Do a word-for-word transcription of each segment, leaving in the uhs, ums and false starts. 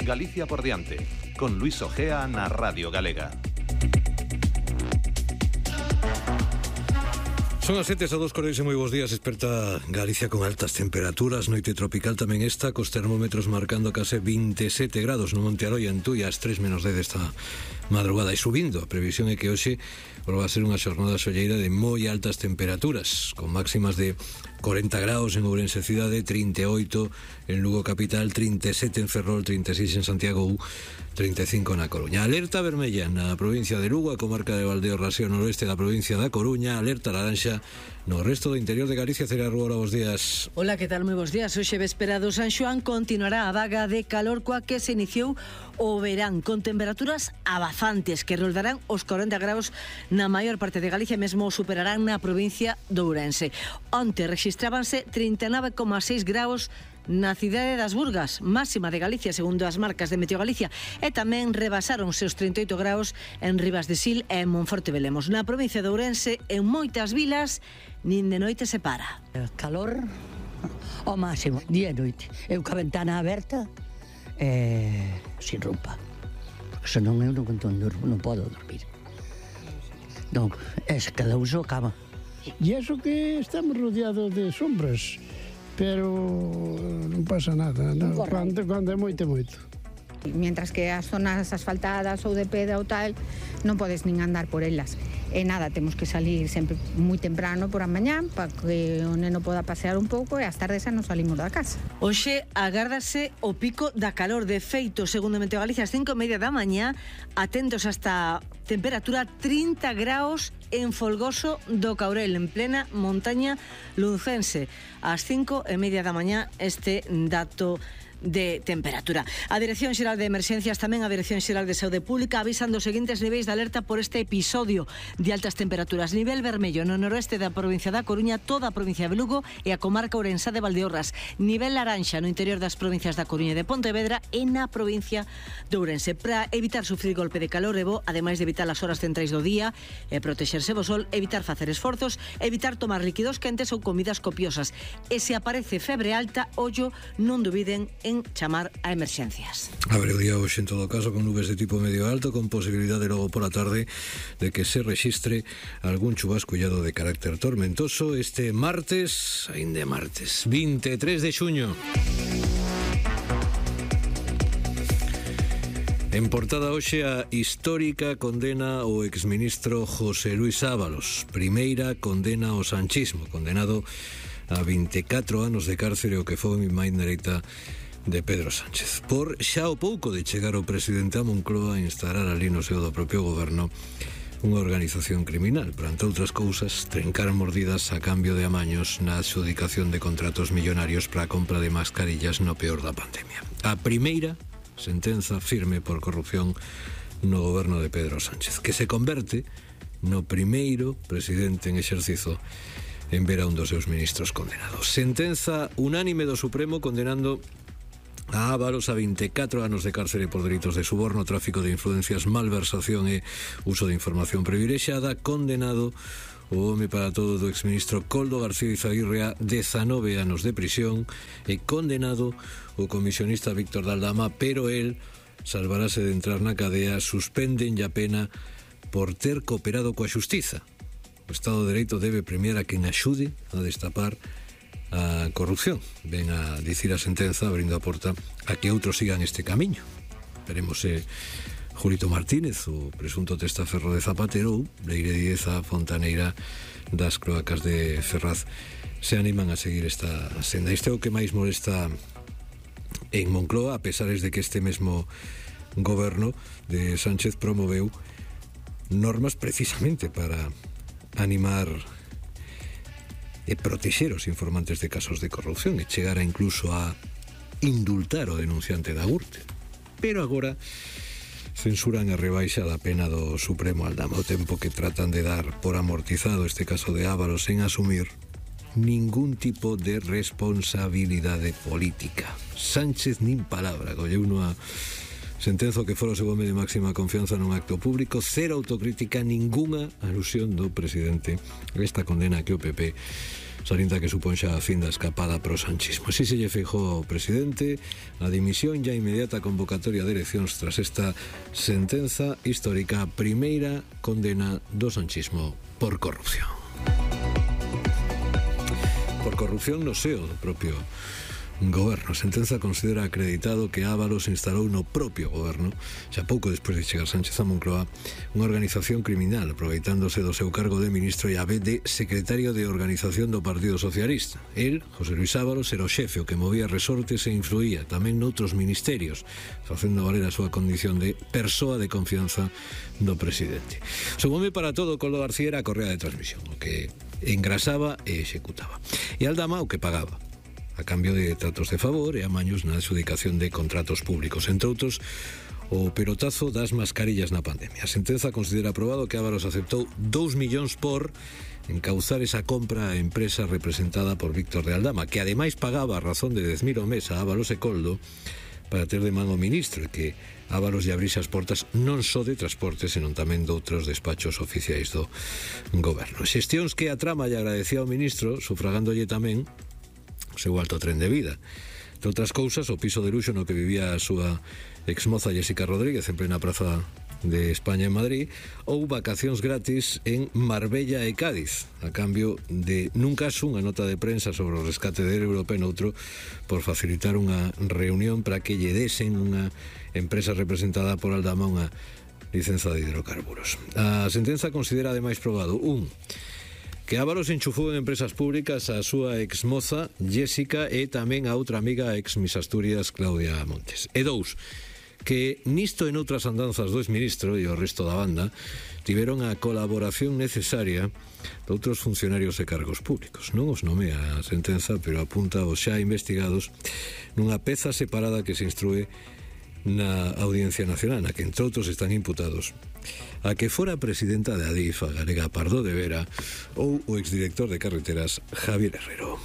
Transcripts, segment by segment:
Galicia por diante, con Luis Ojea na Radio Galega. Son as sete a dos coreis e moi bons días. Esperta Galicia con altas temperaturas, noite tropical tamén esta, cos termómetros marcando case vinte e sete grados no Monte Aroia, en Tui, ás tres menos dez esta madrugada, e subindo. A previsión é que hoxe volva a ser unha xornada solleira de moi altas temperaturas, con máximas de cuarenta grados en Ourense cidade, trinta e oito en Lugo capital, trinta e sete en Ferrol, trinta e seis en Santiago U, trinta e cinco na Coruña. Alerta vermella na provincia de Lugo, a comarca de Valdeorras e o noroeste da provincia da Coruña. Alerta laranxa no resto do interior de Galicia. Celia Rúa, bos días. Hola, que tal? Moi bons días. Hoxe véspera do San Xoán continuará a vaga de calor coa que se iniciou o verán, con temperaturas abafantes que roldarán os cuarenta graus na maior parte de Galicia, mesmo superarán na provincia de Ourense. Onte rexistrábanse trinta e nove coma seis graus na cidade das Burgas, máxima de Galicia segundo as marcas de Meteo Galicia, e tamén rebasaron os trinta e oito graus en Ribas de Sil e en Monforte Velemos. Na provincia de Ourense, en moitas vilas, nin de noite se para. Calor ao máximo, día e noite. Eu ca ventana aberta e sin roupa, porque senón eu non, non podo dormir. Non, es cada uso cama. E iso que estamos rodeados de sombras, pero non pasa nada, non? Cando, cando é moito, moito. Mientras que as zonas asfaltadas ou de pedra ou tal, non podes nin andar por elas. E nada, temos que salir sempre moi temprano por a mañán para que o neno poda pasear un pouco, e ás tardes xa non salimos da casa. Hoxe agárdase o pico da calor. De feito, segundo Meteo Galicia, ás cinco e media da mañá, atentos hasta temperatura trinta graus en Folgoso do Caurel, en plena montaña luncense. Ás cinco e media da mañá este dato de temperatura. A Dirección Xeral de Emerxencias, tamén a Dirección Xeral de Saúde Pública, avisan dos seguintes niveis de alerta por este episodio de altas temperaturas. Nivel vermello no noroeste da provincia da Coruña, toda a provincia de Lugo e a comarca ourensá de Valdeorras. Nivel laranxa no interior das provincias da Coruña e de Pontevedra e na provincia de Ourense. Para evitar sufrir golpe de calor e bo, ademais de evitar as horas centrais do día e protexerse do sol, evitar facer esforzos, evitar tomar líquidos quentes ou comidas copiosas. E se aparece febre alta, ollo, non dubiden en chamar a emerxencias. Abre o día hoxe en todo caso con nubes de tipo medio alto, con posibilidade logo pola tarde de que se rexistre algún chubascullado de carácter tormentoso este martes, aínda martes, vinte e tres de xuño. En portada hoxe a histórica condena ao exministro José Luis Ábalos, primeira condena ao sanchismo, condenado a vinte e catro anos de cárcere, o que foi mi máis dereita de Pedro Sánchez, por xa o pouco de chegar o presidente a Moncloa a instalar ali no seo do propio goberno unha organización criminal, para, entre outras cousas, trencar mordidas a cambio de amaños na adxudicación de contratos millonarios para a compra de mascarillas no peor da pandemia. A primeira sentenza firme por corrupción no goberno de Pedro Sánchez, que se converte no primeiro presidente en exercizo en ver a un dos seus ministros condenados. Sentenza unánime do Supremo condenando a Ábalos a vinte e catro anos de cárcere por delitos de suborno, tráfico de influencias, malversación e uso de información privilexiada. Condenado o home para todo do exministro Koldo García Izaguirre a dezanove anos de prisión, e condenado o comisionista Víctor Daldama, pero el salvarase de entrar na cadea. Suspenden a pena por ter cooperado coa xustiza. O Estado de Dereito debe premiar a quen axude a destapar a corrupción. Ven a dicir a sentenza, abrindo a porta a que outros sigan este camiño. Veremos se Julito Martínez, o presunto testaferro de Zapatero, ou Leire Díez, a fontaneira das cloacas de Ferraz, se animan a seguir esta senda. Isto é o que máis molesta en Moncloa, a pesar de que este mesmo goberno de Sánchez promoveu normas precisamente para animar e protexer os informantes de casos de corrupción, e chegara incluso a indultar o denunciante da Gürtel. Pero agora censuran a rebaixa da pena do Supremo Aldama, o tempo que tratan de dar por amortizado este caso de Ábalos sen asumir ningún tipo de responsabilidade política. Sánchez nin palabra, colleu unha Sentenzo que fora o seu home de máxima confianza nun acto público, cero autocrítica, ningunha alusión do presidente. Esta condena que o P P salienta que supón xa a fin da escapada pro sanchismo. Así se lle fijou ao presidente a dimisión ya inmediata convocatoria de eleccións tras esta sentenza histórica, primeira condena do sanchismo por corrupción. Por corrupción no seo do propio goberno. A sentenza considera acreditado que Ábalos instalou no propio goberno, xa pouco despois de chegar Sánchez a Moncloa, unha organización criminal, aproveitándose do seu cargo de ministro e a vez de secretario de organización do Partido Socialista. El, José Luis Ábalos, era o xefe, o que movía resortes e influía tamén noutros ministerios, facendo valer a súa condición de persoa de confianza do presidente. Seu home para todo, Coldo García, era a correa de transmisión, o que engrasaba e executaba. E Aldama o que pagaba, a cambio de tratos de favor e amaños na adxudicación de contratos públicos, entre outros o pelotazo das mascarillas na pandemia. A sentenza considera aprobado que Ábalos aceptou dous millóns por encauzar esa compra a empresa representada por Víctor de Aldama, que ademais pagaba a razón de dez mil ao mes a Ábalos e Coldo para ter de man o ministro, e que Ábalos lle abrise as portas non só de transportes, senón tamén doutros despachos oficiais do goberno. Xestións que a trama lle agradecía ao ministro, sufragándolle tamén o seu alto tren de vida. De outras cousas, o piso de luxo no que vivía a súa exmoza Jessica Rodríguez en plena praza de España en Madrid, ou vacacións gratis en Marbella e Cádiz, a cambio de, nun caso, unha nota de prensa sobre o rescate del Europa, en outro, por facilitar unha reunión para que lle desen unha empresa representada por Aldama unha licenza de hidrocarburos. A sentenza considera ademais probado un, que Ábalos enchufou en empresas públicas a súa exmoza Jessica e tamén a outra amiga ex Miss Asturias Claudia Montes. E dous, que nisto e noutras andanzas do exministro e o resto da banda tiveron a colaboración necesaria de outros funcionarios e cargos públicos. Non os nomea a sentenza, pero apunta aos xa investigados nunha peza separada que se instrúe na Audiencia Nacional, na que entre outros están imputados a que fora presidenta de Adif, a galega Pardo de Vera, ou o exdirector de Carreteras Javier Herrero.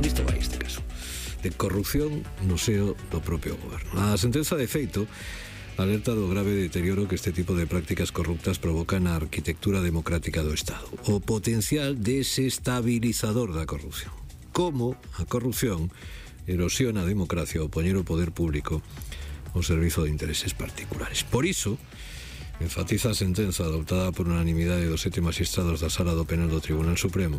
Listo vai este caso de corrupción no seo do propio goberno. A sentenza de feito alerta do grave deterioro que este tipo de prácticas corruptas provoca na arquitectura democrática do Estado, o potencial desestabilizador da corrupción. Como a corrupción erosiona a democracia ao poñer o poder público ao servizo de intereses particulares. Por iso, enfatiza a sentenza adoptada por unanimidade dos sete magistrados da Sala do Penal do Tribunal Supremo,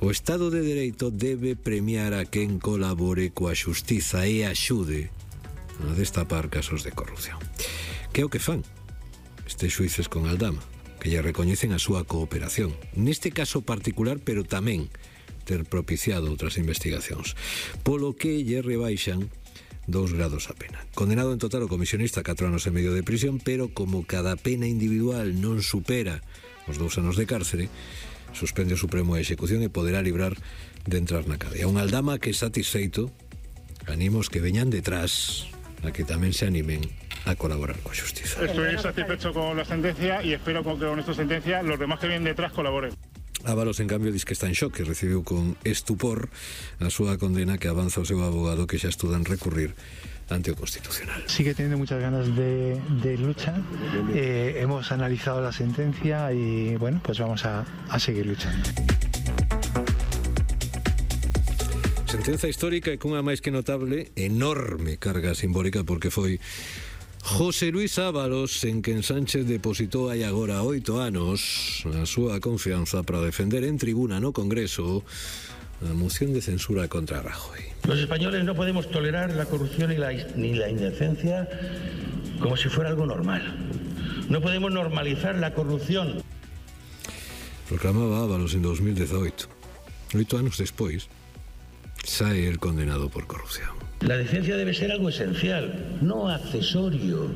o Estado de Dereito debe premiar a quen colabore coa xustiza e axude a destapar casos de corrupción. Que é o que fan estes xuíces con Aldama, que lle recoñecen a súa cooperación, neste caso particular, pero tamén ter propiciado outras investigacións, polo que lle rebaixan dous grados a pena. Condenado en total o comisionista a catro anos e medio de prisión, pero como cada pena individual non supera os dous anos de cárcere, suspende o Supremo a execución e poderá librar de entrar na cadea. Un Aldama que satisfeito, animos que veñan detrás a que tamén se animen a colaborar coa xustiza. Estoy satisfecho con la sentencia y espero que con esta sentencia los demás que vienen detrás colaboren. Ábalos, en cambio, diz que está en shock, que recibiu con estupor a súa condena, que avanza o seu abogado que xa estudan recurrir ante o Constitucional. Sigue teniendo muchas ganas de, de lucha. Eh, hemos analizado la sentencia y, bueno, pues vamos a, a seguir luchando. Sentenza histórica e cunha máis que notable, enorme carga simbólica, porque foi José Luis Ábalos en quen Sánchez depositou hai agora oito anos a súa confianza para defender en tribuna no Congreso a moción de censura contra Rajoy. Los españoles no podemos tolerar la corrupción ni la, ni la indecencia como si fuera algo normal. No podemos normalizar la corrupción. Proclamaba Ábalos en dos mil dezoito. Oito anos despois, sae el condenado por corrupción. La decencia debe ser algo esencial, no accesorio.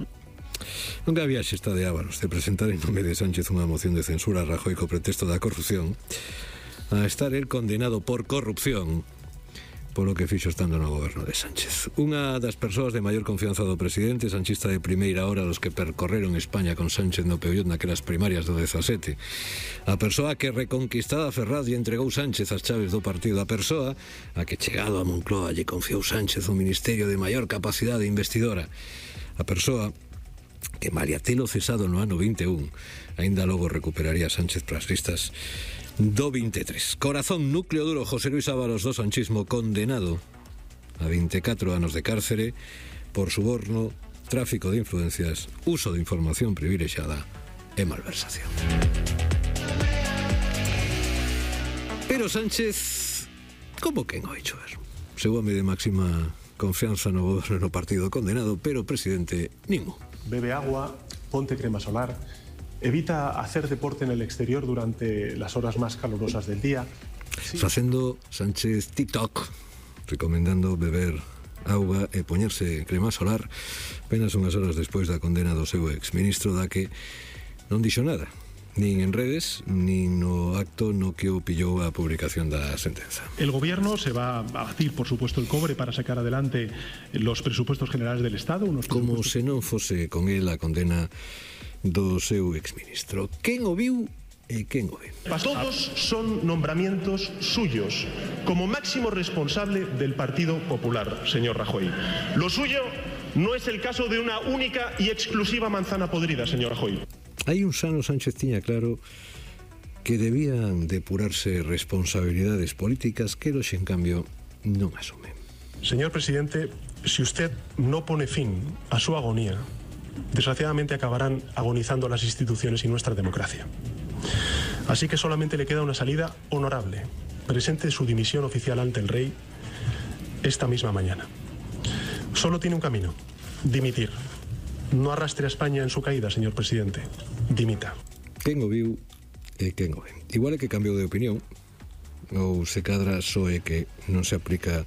Nunca había xesta de Ábalos de presentar en nome de Sánchez unha moción de censura a Rajoy co pretexto da corrupción, a estar el condenado por corrupción polo que fixo estando no goberno de Sánchez. Unha das persoas de maior confianza do presidente, sanchista de primeira hora, los que percorreron España con Sánchez no Peullot naquelas primarias do dezasete. A persoa que reconquistada a Ferraz e entregou Sánchez as chaves do partido. A persoa a que chegado a Moncloa lle confiou Sánchez o ministerio de maior capacidade investidora. A persoa que malia telo cesado no ano vinte e un, aínda logo recuperaría Sánchez para as listas do vinte e tres. Corazón, núcleo duro, José Luis Ábalos do sanchismo, condenado a vinte e catro anos de cárcere por suborno, tráfico de influencias, uso de información privilexiada e malversación. Pero Sánchez, como quen o hecho ver? Seu home de máxima confianza no goberno no partido, condenado, pero presidente ningún. Bebe agua, ponte crema solar. Evita hacer deporte en el exterior durante las horas más calurosas del día. Sí. Facendo Sánchez TikTok, recomendando beber auga e poñerse crema solar apenas unhas horas despois da condena do seu exministro, da que non dixo nada, nin en redes, nin no acto no que o pillou a publicación da sentenza. El gobierno se va a batir, por supuesto, el cobre para sacar adelante los presupuestos generales del Estado. Unos Como se non fose con él a condena do seu exministro. Quen o viu e quen o ve? Todos son nombramientos suyos como máximo responsable del Partido Popular, señor Rajoy. Lo suyo no es el caso de una única y exclusiva manzana podrida, señor Rajoy. Hai uns anos Sánchez tiña claro que debían depurarse responsabilidades políticas que hoxe, en cambio, non asume. Señor presidente, si usted no pone fin a su agonía, desgraciadamente acabarán agonizando las instituciones y nuestra democracia. Así que solamente le queda una salida honorable. Presente su dimisión oficial ante el rey esta misma mañana. Solo tiene un camino: dimitir. No arrastre a España en su caída, señor presidente. Dimita. Quen o viu e quen o ve. Igual é que cambiou de opinión, ou se cadra só é que non se aplica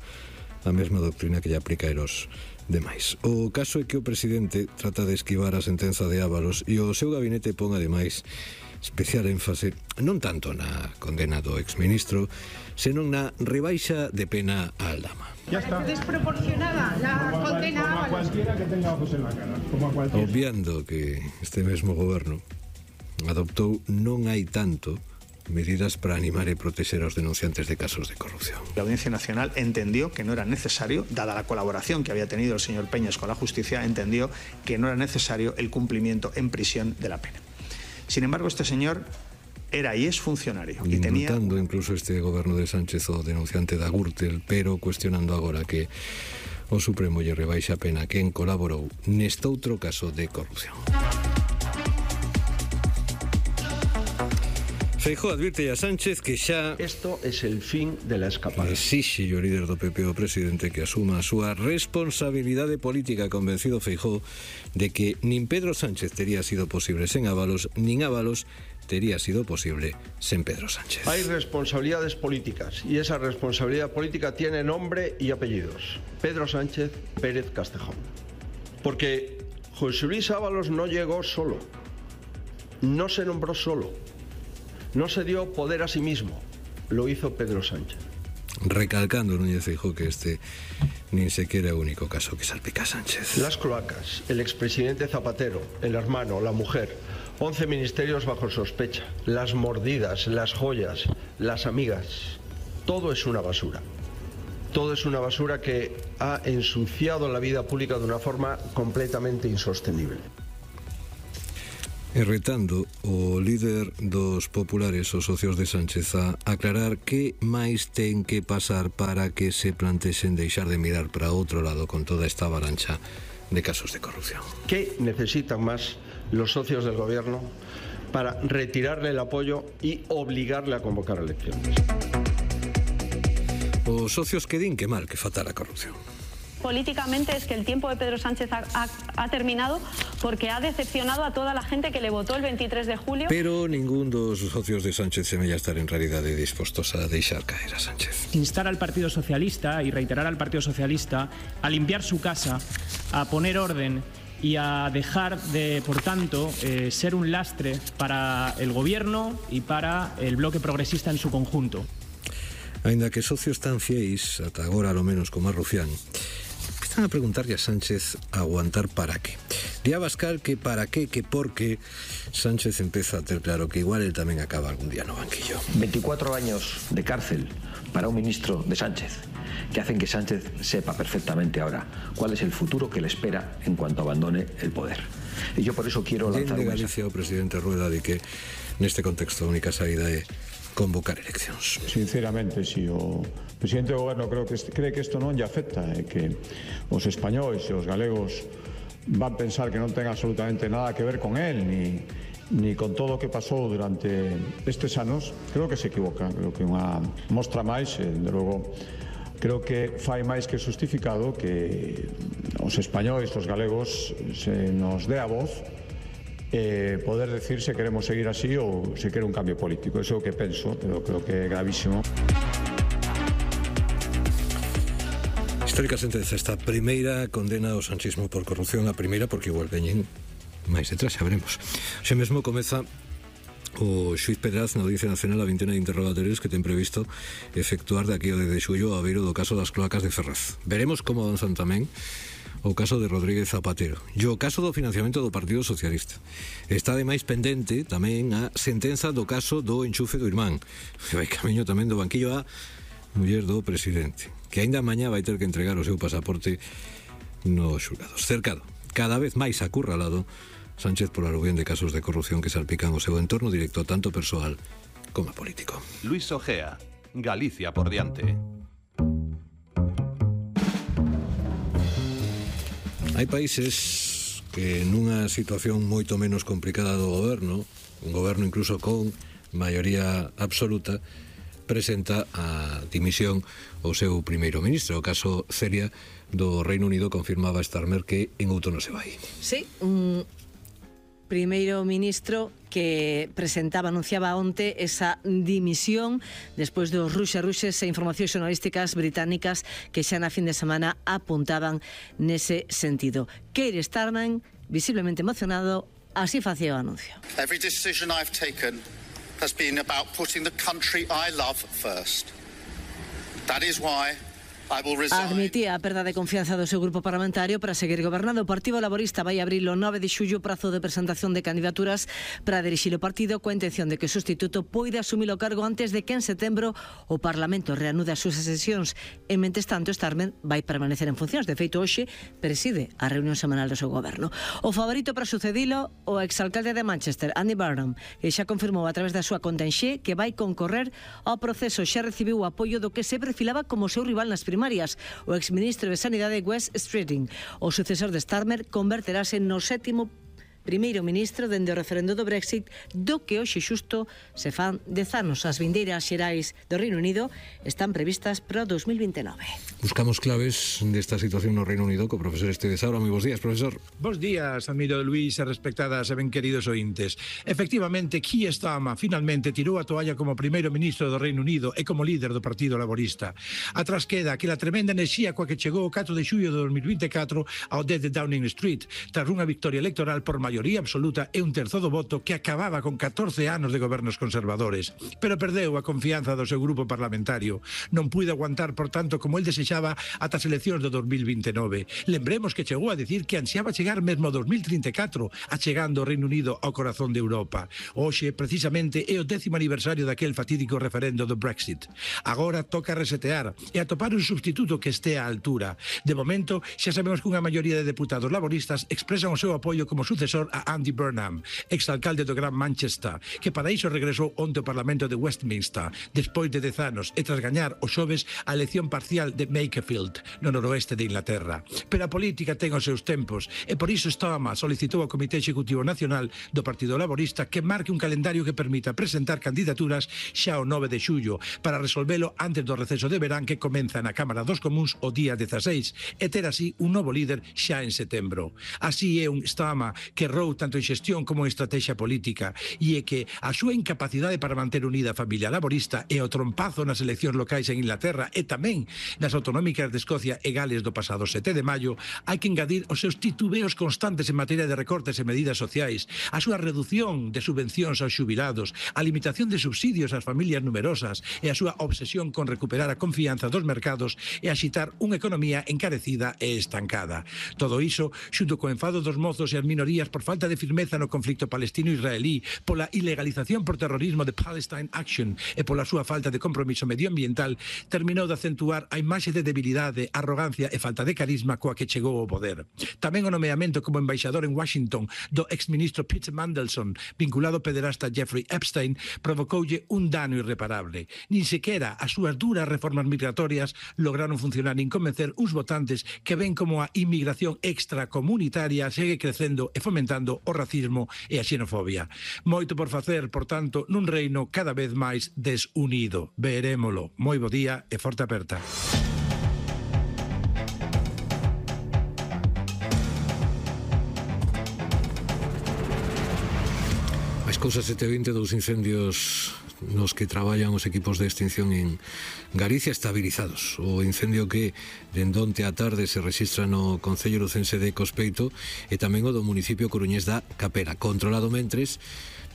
a mesma doctrina que lle aplica a los demais. O caso é que o presidente trata de esquivar a sentenza de Ábalos e o seu gabinete pon ademais especial énfase non tanto na condena do exministro, senón na rebaixa de pena á aldama. Ya está. Desproporcionada la como condena a cualquiera que tenga ojos en la cara, como a cualquiera. Obviando que este mesmo goberno adoptou non hai tanto medidas para animar y proteger a los denunciantes de casos de corrupción. La Audiencia Nacional entendió que no era necesario, dada la colaboración que había tenido el señor Peñas con la justicia, entendió que no era necesario el cumplimiento en prisión de la pena. Sin embargo, este señor era y es funcionario. Y tenía... Indultando incluso este goberno de Sánchez o denunciante da Gürtel, pero cuestionando agora que o Supremo lle rebaixa a pena quen colaborou neste outro caso de corrupción. Feijóo advirte a Sánchez que xa... Esto es el fin de la escapada. Exixe o líder do P P o presidente que asuma a súa responsabilidade política, convencido Feijóo de que nin Pedro Sánchez tería sido posible sen Ábalos, nin Ábalos tería sido posible sen Pedro Sánchez. Hay responsabilidades políticas y esa responsabilidad política tiene nombre y apellidos. Pedro Sánchez Pérez Castejón. Porque José Luis Ábalos no llegó solo, no se nombró solo. No se dio poder a sí mismo, lo hizo Pedro Sánchez. Recalcando Núñez Feijóo que este ni siquiera es el único caso que salpica a Sánchez. Las cloacas, el expresidente Zapatero, el hermano, la mujer, once ministerios bajo sospecha, las mordidas, las joyas, las amigas, todo es una basura. Todo es una basura que ha ensuciado la vida pública de una forma completamente insostenible. E retando o líder dos populares, os socios de Sánchez, a aclarar que máis ten que pasar para que se plantexen deixar de mirar para outro lado con toda esta avalancha de casos de corrupción. ¿Qué necesitan más los socios del gobierno para retirarle el apoyo y obligarle a convocar elecciones? Os socios que din que mal que fatal a corrupción. Políticamente es que el tiempo de Pedro Sánchez ha, ha, ha terminado porque ha decepcionado a toda la gente que le votó el veintitrés de julio. Pero ningún dos socios de Sánchez semella estar en realidade dispostos a deixar caer a Sánchez. Instar al Partido Socialista y reiterar al Partido Socialista a limpiar su casa, a poner orden y a dejar de, por tanto, eh, ser un lastre para el gobierno y para el bloque progresista en su conjunto. Ainda que socios tan fieis, ata agora lo menos como a Rufián, empiezan a preguntarlle a Sánchez aguantar para qué. Di a Abascal que para qué, que por qué. Sánchez empeza a ter claro que igual él tamén acaba algún día no banquillo. veinticuatro años de cárcel para un ministro de Sánchez, que hacen que Sánchez sepa perfectamente ahora cuál es el futuro que le espera en cuanto abandone el poder. E yo por eso quiero lanzar Dende un Galicia o presidente Rueda di que neste contexto a única saída é convocar eleccións. Sinceramente, si o presidente do goberno creo que cree que isto non lle afecta e que os españois e os galegos van pensar que non ten absolutamente nada que ver con él ni, ni con todo o que pasou durante estes anos, creo que se equivoca. Creo que unha mostra máis, e, de logo, creo que fai máis que justificado que os españois, os galegos, se nos dé a voz e poder decir se queremos seguir así ou se quere un cambio político. Eso é o que penso, pero creo que é gravísimo. Histórica sentenza esta primeira condena ao sanchismo por corrupción, a primeira porque igual veñen máis detrás, xa veremos. Xe mesmo comeza o xuiz Pedraz na Audiencia Nacional a vintena de interrogatorios que ten previsto efectuar de aquí ao de xullo a beiro do caso das cloacas de Ferraz. Veremos como avanzan tamén o caso de Rodríguez Zapatero e o caso do financiamento do Partido Socialista. Está ademais pendente tamén a sentenza do caso do enchufe do irmán, que vai camiño tamén do banquillo a muller do presidente, que aínda mañá vai ter que entregar o seu pasaporte nos xulgados. Cercado, cada vez máis acurralado, Sánchez por aluvión de casos de corrupción que salpican o seu entorno directo tanto persoal como político. Luis Ojea, Galicia por diante. Hai países que nunha situación moito menos complicada do goberno, un goberno incluso con maioría absoluta, presenta a dimisión o seu primeiro ministro. O caso Celia do Reino Unido confirmaba Starmer que en outono se vai. Sí, un primeiro ministro que presentaba, anunciaba onte esa dimisión despois dos ruxe-ruxes e informacións xornalísticas británicas que xa na fin de semana apuntaban nese sentido. Keir Starmer, visiblemente emocionado, así facía o anuncio. Every decision I've taken has been about putting the country I love first. That is why I will resign. Admitía a perda de confianza do seu grupo parlamentario para seguir gobernando. O Partido Laborista vai abrir o nove de xullo o prazo de presentación de candidaturas para dirixir o partido coa intención de que o sustituto poida asumir o cargo antes de que en setembro o Parlamento reanude as súas sesións. E, mentres tanto, Starmer vai permanecer en funcións. De feito, hoxe preside a reunión semanal do seu goberno. O favorito para sucedilo, o exalcalde de Manchester, Andy Burnham, e xa confirmou a través da súa conta en Xe que vai concorrer ao proceso. Xa recibiu o apoio do que se perfilaba como seu rival nas primarias, o exministro de Sanidade Wes Streeting. O sucesor de Starmer converterase no sétimo primeiro ministro dende o referendo do Brexit, do que hoxe xusto se fan dez anos. As vindeiras xerais do Reino Unido están previstas para o dos mil vinte e nove. Buscamos claves desta situación no Reino Unido co profesor Esteves Saura. Moi bons días, profesor. Bos días, amigo Luís e respectadas e ben queridos ointes. Efectivamente, Keir Starmer finalmente tirou a toalla como primeiro ministro do Reino Unido e como líder do Partido Laborista. Atrás queda aquela tremenda enerxía coa que chegou o catro de xullo de dos mil vinte e catro ao dez de Downing Street, tras unha victoria electoral por maioría absoluta e un terzo do voto que acababa con catorce anos de gobernos conservadores. Pero perdeu a confianza do seu grupo parlamentario. Non puido aguantar, por tanto, como el desexaba ata as eleccións do dos mil vinte e nove. Lembremos que chegou a decir que ansiaba chegar mesmo ao dos mil trinta e catro, achegando o Reino Unido ao corazón de Europa. Hoxe, precisamente, é o décimo aniversario daquel fatídico referendo do Brexit. Agora toca resetear e atopar un substituto que este á altura. De momento, xa sabemos que unha maioría de deputados laboristas expresan o seu apoio como sucesor a Andy Burnham, exalcalde do Gran Manchester, que para iso regresou onte ao Parlamento de Westminster, despois de dez anos e tras gañar o xoves a elección parcial de Makerfield, no noroeste de Inglaterra. Pero a política ten os seus tempos e por iso Starmer solicitou ao Comité Executivo Nacional do Partido Laborista que marque un calendario que permita presentar candidaturas xa o nove de xullo para resolvelo antes do receso de verán que comeza na Cámara dos Comuns o día dezaseis e ter así un novo líder xa en setembro. Así é un Starmer que errou tanto en xestión como en estrategia política, e é que a súa incapacidade para manter unida a familia laborista e o trompazo nas eleccións locais en Inglaterra e tamén nas autonómicas de Escocia e Gales do pasado sete de maio, hai que engadir os seus titubeos constantes en materia de recortes e medidas sociais, a súa reducción de subvencións aos xubilados, a limitación de subsidios ás familias numerosas e a súa obsesión con recuperar a confianza dos mercados e axitar unha economía encarecida e estancada. Todo iso, xunto co enfado dos mozos e as minorías por falta de firmeza no conflicto palestino-israelí, pola ilegalización por terrorismo de Palestine Action e pola súa falta de compromiso medioambiental, terminou de acentuar a imaxe de debilidade, arrogancia e falta de carisma coa que chegou ao poder. Tamén o nomeamento como embaixador en Washington do exministro Peter Mandelson, vinculado ao pederasta Jeffrey Epstein, provocoulle un dano irreparable. Nin sequera as súas duras reformas migratorias lograron funcionar nin convencer uns votantes que ven como a inmigración extracomunitaria segue crecendo e fomentando o racismo e a xenofobia. Moito por facer, por tanto, nun reino cada vez máis desunido. Verémolo. Moi bo día e forte aperta. As cousas sete e vinte, dous incendios nos que traballan os equipos de extinción en Galicia estabilizados. O incendio que dende onte á tarde se rexistra no Concello lucense de Cospeito e tamén o do municipio coruñés da Capela, controlado mentres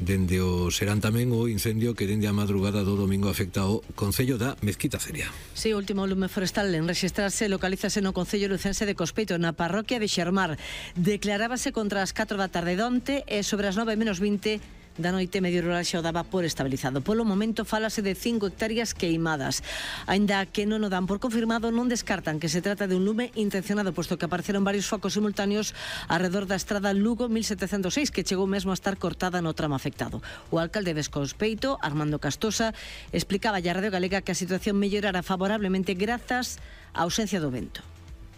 dende o serán tamén o incendio que dende a madrugada do domingo afecta o Concello da Mezquita Ceria. Si, sí, o último lume forestal en rexistrarse localízase no Concello lucense de Cospeito, na parroquia de Xermar. Declarábase contra as catro da tarde donte e sobre as nove menos vinte da noite medio rural xa o daba por estabilizado. Polo momento falase de cinco hectáreas queimadas. Aínda que non o dan por confirmado, non descartan que se trata de un lume intencionado, posto que apareceron varios focos simultáneos alrededor da estrada Lugo mil setecentos seis, que chegou mesmo a estar cortada no tramo afectado. O alcalde de Cospeito, Armando Castosa, explicaba a Radio Galega que a situación mellorara favorablemente grazas á ausencia do vento.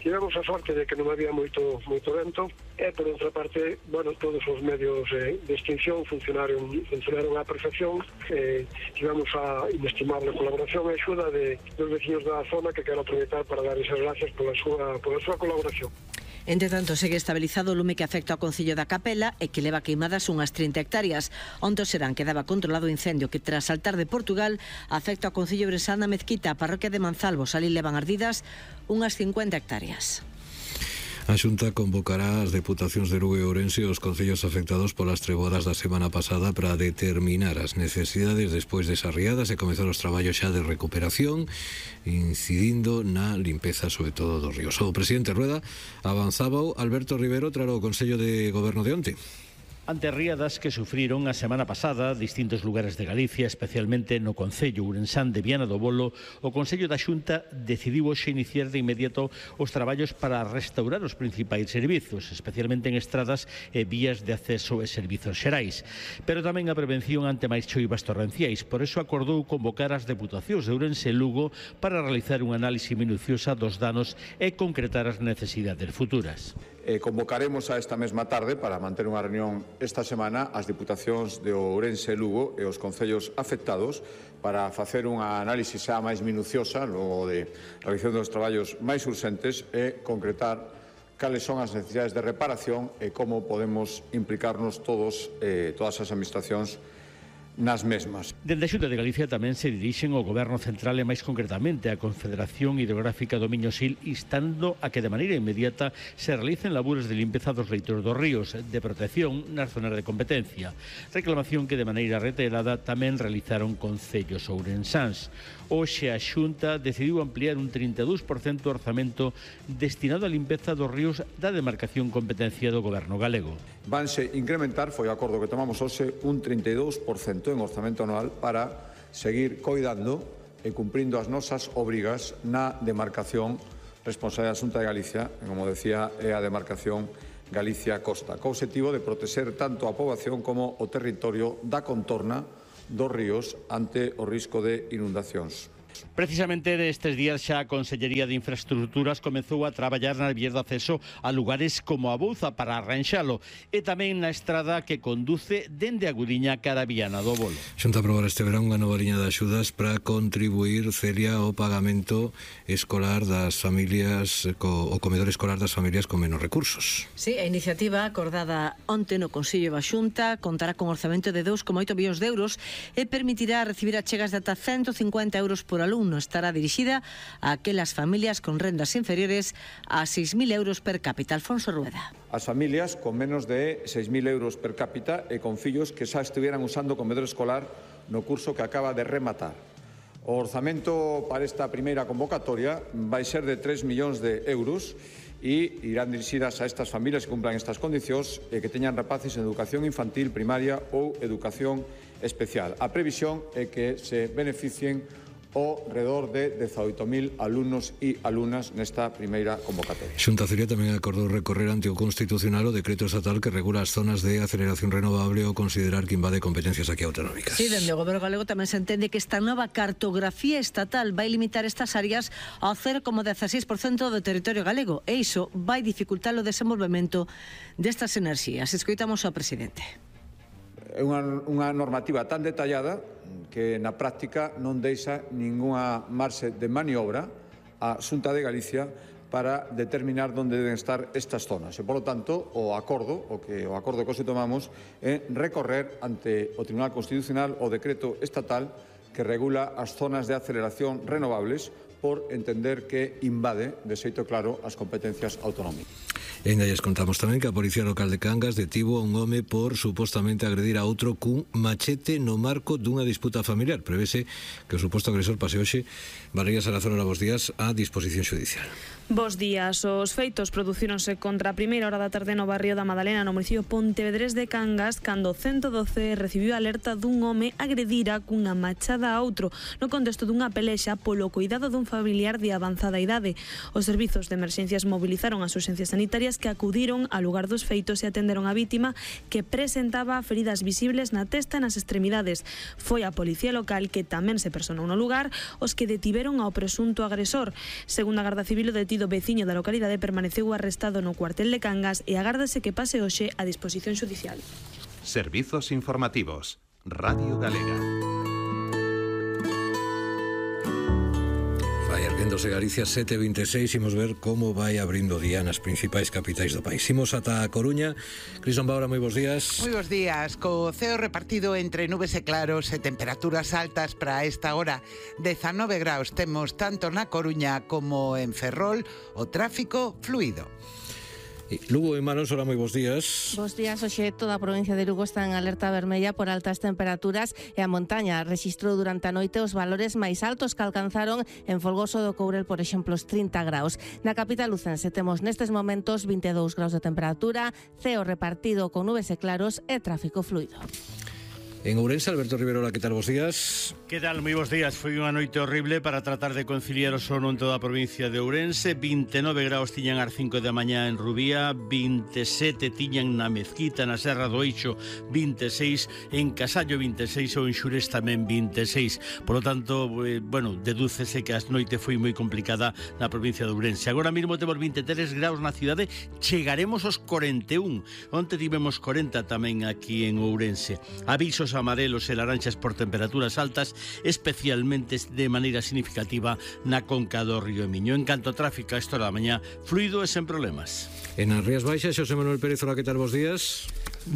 Tivemos a sorte de que non había moito moito vento e, por outra parte, bueno, todos os medios eh, de extinción funcionaron funcionaron á perfección. Eh, tivemos a inestimable colaboración e axuda de, dos veciños da zona, que quero aproveitar para dar esas gracias pola súa, pola súa colaboración. Entre tanto, segue estabilizado o lume que afecta ao Concello da Capela e que leva queimadas unhas trinta hectáreas. Onte serán quedaba controlado o incendio que, tras saltar de Portugal, afecta ao Concello Bresal na Mezquita, a parroquia de Manzalbos. Ali levan ardidas unhas cincuenta hectáreas. A Xunta convocará as deputacións de Lugo e Ourense os concellos afectados polas treboadas da semana pasada para determinar as necesidades despois desas riadas e comezar os traballos xa de recuperación, incidindo na limpeza sobre todo dos ríos. O presidente Rueda avanzaba Alberto Rivero tralo o Consello de Goberno de onte. Ante riadas que sufriron a semana pasada distintos lugares de Galicia, especialmente no Concello ourensán de Viana do Bolo, o Consello da Xunta decidiu hoxe iniciar de inmediato os traballos para restaurar os principais servizos, especialmente en estradas e vías de acceso e servizos xerais, pero tamén a prevención ante máis choivas torrenciais. Por eso acordou convocar as deputacións de Ourense e Lugo para realizar un análise minuciosa dos danos e concretar as necesidades futuras. Eh, convocaremos a esta mesma tarde para manter unha reunión esta semana as Diputacións de Ourense e Lugo e os concellos afectados para facer unha análise xa máis minuciosa logo de realización dos traballos máis urxentes e concretar cales son as necesidades de reparación e como podemos implicarnos todos, eh, todas as administracións nas mesmas. Dende a Xunta de Galicia tamén se dirixen ao Goberno Central e máis concretamente á Confederación Hidrográfica do Miño Sil, instando a que de maneira inmediata se realicen labores de limpeza dos leitos dos ríos, de protección nas zonas de competencia, reclamación que de maneira reiterada tamén realizaron concellos ourensáns. Hoxe a Xunta decidiu ampliar un trinta e dous por cento do orzamento destinado á limpeza dos ríos da demarcación competencia do Goberno galego. Vanse incrementar, foi o acordo que tomamos hoxe, un trinta e dous por cento en orzamento anual para seguir coidando e cumprindo as nosas obrigas na demarcación responsable da Xunta de Galicia, como decía, é a demarcación Galicia-Costa, co obxectivo de protexer tanto a poboación como o territorio da contorna dos ríos ante o risco de inundacións. Precisamente nestes días xa a Consellería de Infraestructuras comezou a traballar na vía de acceso a lugares como a Bouza para arranxalo e tamén na estrada que conduce dende a Gudiña cara a Viana do Bolo. Xunta aprobar este verán unha nova liña de axudas para contribuir, Celia, ao pagamento escolar das familias, co, o comedor escolar das familias con menos recursos. Sí, a iniciativa acordada onte no Consello da Xunta contará con orzamento de dous coma oito millóns de euros e permitirá recibir achegas de ata ciento cincuenta euros por alumno. Estará dirixida a aquelas familias con rendas inferiores a seis mil euros per cápita. Alfonso Rueda. As familias con menos de seis mil euros per cápita e con fillos que xa estuvieran usando comedor escolar no curso que acaba de rematar. O orzamento para esta primeira convocatoria vai ser de tres millóns de euros e irán dirixidas a estas familias que cumplan estas condicións e que teñan rapaces en educación infantil, primaria ou educación especial. A previsión é que se beneficien o redor de dezaoito mil alumnos e alumnas nesta primeira convocatoria. Xunta Celia tamén acordou recorrer ante o Constitucional o decreto estatal que regula as zonas de aceleración renovable ou considerar que invade competencias aquí autonómicas. Sí, dende o Goberno galego tamén se entende que esta nova cartografía estatal vai limitar estas áreas ao cero coma dieciséis por cento do territorio galego e iso vai dificultar o desenvolvemento destas enerxías. Escoitamos ao presidente. É unha, unha normativa tan detallada que na práctica non deixa ningunha marxe de maniobra a Xunta de Galicia para determinar onde deben estar estas zonas. E, polo tanto, o acordo, o que o acordo que hoxe tomamos é recorrer ante o Tribunal Constitucional o decreto estatal que regula as zonas de aceleración renovables por entender que invade, de xeito claro, as competencias autonómicas. E ainda lles contamos tamén que a Policía Local de Cangas detivo a un home por supostamente agredir a outro cun machete no marco dunha disputa familiar. Prevese que o suposto agresor pase hoxe. Valeria Salazar, bos días, a disposición xudicial. Bos días. Os feitos producíronse contra a primeira hora da tarde no barrio da Madalena, no municipio pontevedrés de Cangas, cando o ciento doce recibiu alerta dun home agredira cunha machada a outro no contexto dunha pelexa polo cuidado dun familiar de avanzada idade. Os servizos de emerxencias mobilizaron as urxencias sanitarias que acudiron ao lugar dos feitos e atenderon a vítima que presentaba feridas visibles na testa e nas extremidades. Foi a Policía Local que tamén se personou no lugar os que detiveron ao presunto agresor. Segundo a Garda Civil, o detido veciño da localidade permaneceu arrestado no cuartel de Cangas e agárdase que pase hoxe a disposición xudicial. Servizos informativos. Radio Galega. Vai erguéndose Galicia sete e veintiséis, imos ver como vai abrindo día nas principais capitais do país. Imos ata a Coruña. Crison Baura, moi bons días. Moi bons días, co ceo repartido entre nubes e claros e temperaturas altas para esta hora. dezanove graus temos tanto na Coruña como en Ferrol, o tráfico fluido. Lugo e Manos, hola, moi bons días. Bos días, hoxe toda a provincia de Lugo está en alerta vermella por altas temperaturas e a montaña rexistrou durante a noite os valores máis altos que alcanzaron en Folgoso do Courel, por exemplo, os trinta graus. Na capital lucense temos nestes momentos vinte e dous graus de temperatura, ceo repartido con nubes e claros e tráfico fluido. En Ourense, Alberto Riverola, que tal, bos días? Que tal, moi bons días. Foi unha noite horrible para tratar de conciliar o sono en toda a provincia de Ourense. vinte e nove graus tiñan ás cinco da mañá en Rubía, vinte e sete tiñan na Mezquita, na Serra do Eixo, vinte e seis, en Casallo vinte e seis ou en Xurés tamén vinte e seis. Por lo tanto, eh, bueno, dedúcese que a noite foi moi complicada na provincia de Ourense. Agora mesmo temos vinte e tres graus na cidade, chegaremos aos cuarenta e un. Onte tivemos cuarenta tamén aquí en Ourense. Avisos amarelos e laranxas por temperaturas altas, especialmente de maneira significativa na conca do río Miño. En canto a tráfico, a esta hora da mañá, fluido e sen problemas. En as Rías Baixas, Xosé Manuel Pérez, hola, que tal, bos días?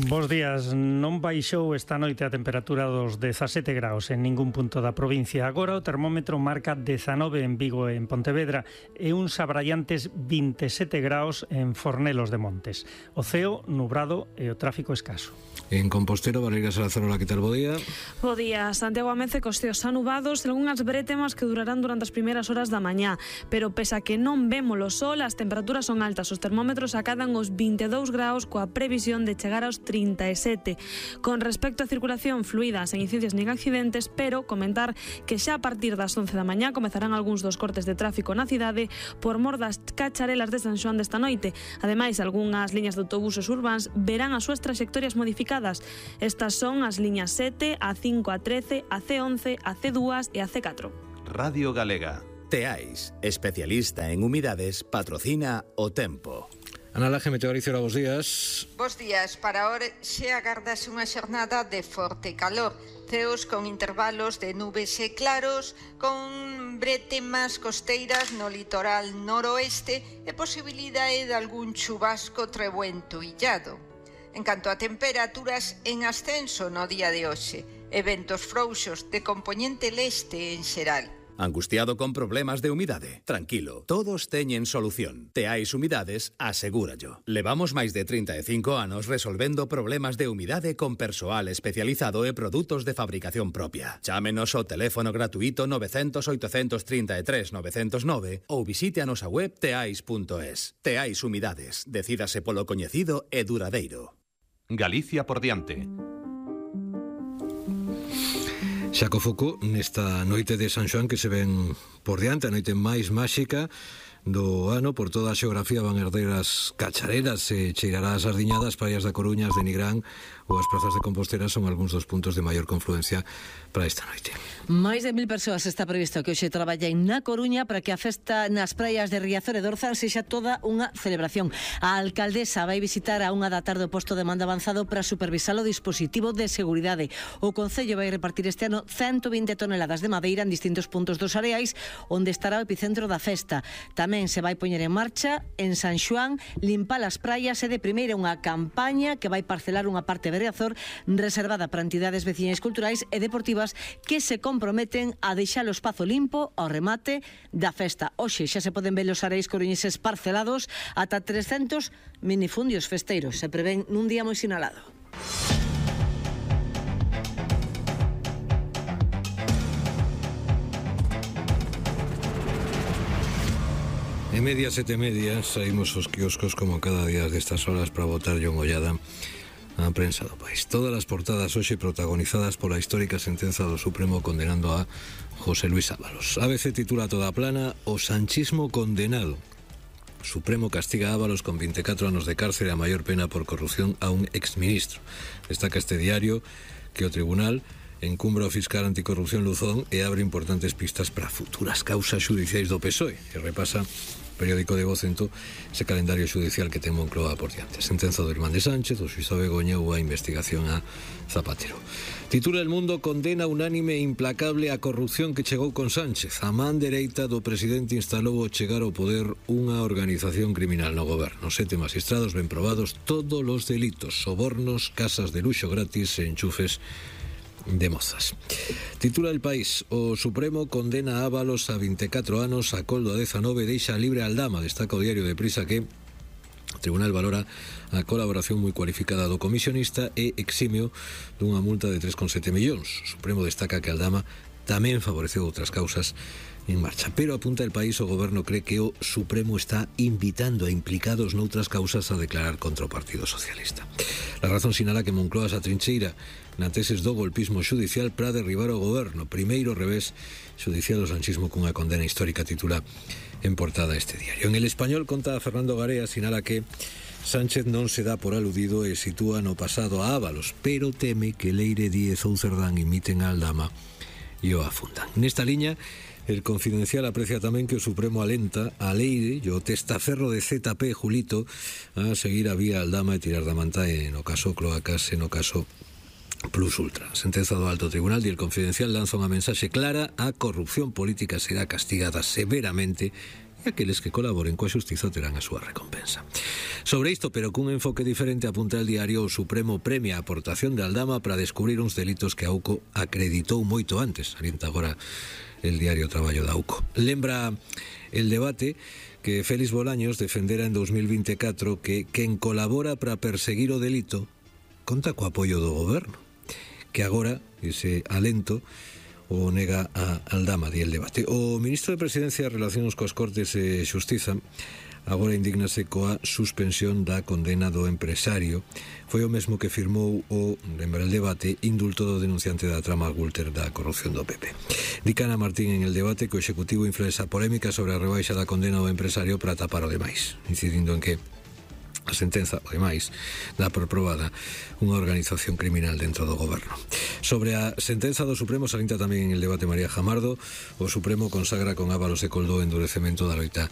Bos días. Non baixou esta noite a temperatura dos dezasete graus en ningún punto da provincia. Agora o termómetro marca dezanove en Vigo e en Pontevedra e uns abraiantes vinte e sete graus en Fornelos de Montes. O ceo nubrado e o tráfico escaso. En Compostela, Valeria Salazar, hola, que tal, bo día? Bo día. Santiago amece cos ceos anubados e algunhas brétemas que durarán durante as primeiras horas da mañá, pero pese a que non vemos o sol, as temperaturas son altas. Os termómetros acadan os vinte e dous graus coa previsión de chegar aos trinta e sete. Con respecto á circulación fluida, sen incidencias nin accidentes, pero comentar que xa a partir das once da mañá comezarán algúns dos cortes de tráfico na cidade por mor das cacharelas de San Xoán desta noite. Ademais, algunhas liñas de autobuses urbáns verán as súas trayectorias modificadas. Estas son as liñas sete, a cinco, a trece, a ce once, a ce dous e a ce catro. Radio Galega. Teais, especialista en humidades, patrocina o tempo. Ana Laje, Meteoricio, bos días. Bos días. Para hoxe agardase unha xornada de forte calor. Ceos con intervalos de nubes e claros, con bretemas costeiras no litoral noroeste e posibilidade de algún chubasco trebuento illado. En canto a temperaturas, en ascenso no día de hoxe, e ventos frouxos de compoñente leste en xeral. Angustiado con problemas de humidade? Tranquilo, todos teñen solución. Teais Humidades asegúrallo. Levamos máis de trinta e cinco anos resolvendo problemas de humidade con persoal especializado e produtos de fabricación propia. Chámenos ao teléfono gratuito nove cero cero, oito tres tres, nove cero nove ou visite a nosa web teais punto es. Teais Humidades. Decídase polo coñecido e duradeiro. Galicia por diante. Xa co foco nesta noite de San Xoán que se ven por diante, a noite máis máxica do ano. Por toda a xeografía van herder as cachareras e cheirará as sardiñadas. Praias da Coruña, as de Nigrán ou as prazas de Compostela son algúns dos puntos de maior confluencia para esta noite. Máis de mil persoas está previsto que hoxe traballen na Coruña para que a festa nas praias de Riazor e Dorzan sexa toda unha celebración. A alcaldesa vai visitar a unha da tarde o posto de mando avanzado para supervisar o dispositivo de seguridade. O Concello vai repartir este ano ciento vinte toneladas de madeira en distintos puntos dos areais onde estará o epicentro da festa. Tamén se vai poñer en marcha en San Xoán limpar as praias e de primeira unha campaña que vai parcelar unha parte de Riazor reservada para entidades veciñais culturais e deportivas que se comprometen a deixar o espazo limpo ao remate da festa. Hoxe xa se poden ver os areis coruñeses parcelados ata trescentos minifundios festeiros. Se prevén nun día moi sinalado. En media, sete media, saímos os quioscos como cada día destas horas para botar unha ollada a prensa do país. Todas as portadas hoxe protagonizadas pola histórica sentenza do Supremo condenando a José Luis Ábalos. A B C titula toda plana: o sanchismo condenado. O Supremo castiga a Ábalos con vinte e catro anos de cárcere a maior pena por corrupción a un exministro. Destaca este diario que o tribunal encumbra o fiscal anticorrupción Luzón e abre importantes pistas para futuras causas judiciais do P S O E, que repasa periódico de Vocento ese calendario judicial que ten Moncloa por diante. Sentenza do irmán de Sánchez, o xuízo Begoña ou a investigación a Zapatero. Titula El Mundo: condena unánime e implacable a corrupción que chegou con Sánchez. A man dereita do presidente instalou ao chegar ao poder unha organización criminal no goberno. Sete magistrados ven probados todos os delitos: sobornos, casas de luxo gratis e enchufes de mozas. Titula El País: o Supremo condena a Ábalos a vinte e catro anos, a Coldo a dezanove, deixa libre a Aldama. Destaca o diario de Prisa que o Tribunal valora a colaboración moi cualificada do comisionista e eximio dunha multa de tres coma sete millóns. O Supremo destaca que Aldama tamén favoreceu outras causas en marcha. Pero apunta El País, o goberno cree que o Supremo está invitando a implicados noutras causas a declarar contra o Partido Socialista. La Razón sinala que Moncloa se atrincheira na teses do golpismo xudicial para derribar o goberno. Primeiro revés xudicial do sanchismo cunha condena histórica, titula en portada este diario. En El Español conta Fernando Garea, sinala que Sánchez non se dá por aludido e sitúa no pasado a Ábalos, pero teme que Leire Díez ou Cerdán imiten a Aldama e o afundan. Nesta liña, El Confidencial aprecia tamén que o Supremo alenta a Leire e o testaferro de Z P, Julito, a seguir a vía Aldama e tirar da manta e no caso Cloacas e no caso Plus Ultra. Sentenza do Alto Tribunal e El Confidencial lanza unha mensaxe clara: a corrupción política será castigada severamente e aqueles que colaboren coa xustiza terán a súa recompensa. Sobre isto, pero cun enfoque diferente, apunta el diario, o Supremo premia a aportación de Aldama para descubrir uns delitos que AUCO acreditou moito antes. Alienta agora el diario Traballo da AUCO. Lembra El Debate que Félix Bolaños defendera en dos mil vinte e catro que quen colabora para perseguir o delito conta co apoio do goberno, que agora ese alento o nega a Aldama, di El Debate. O ministro de Presidencia e Relacións coas Cortes e Xustiza agora indignase coa suspensión da condena do empresario. Foi o mesmo que firmou o, lembra El Debate, indulto do denunciante da trama Gürtel da corrupción do P P. Dicana Martín en El Debate que o Executivo influenza polémica sobre a rebaixa da condena do empresario para tapar o demais, incidindo en que A sentenza, ademais, dá por probada unha organización criminal dentro do goberno. Sobre a sentenza do Supremo, salienta tamén en el debate María Jamardo, o Supremo consagra con Ábalos e Coldó endurecemento da loita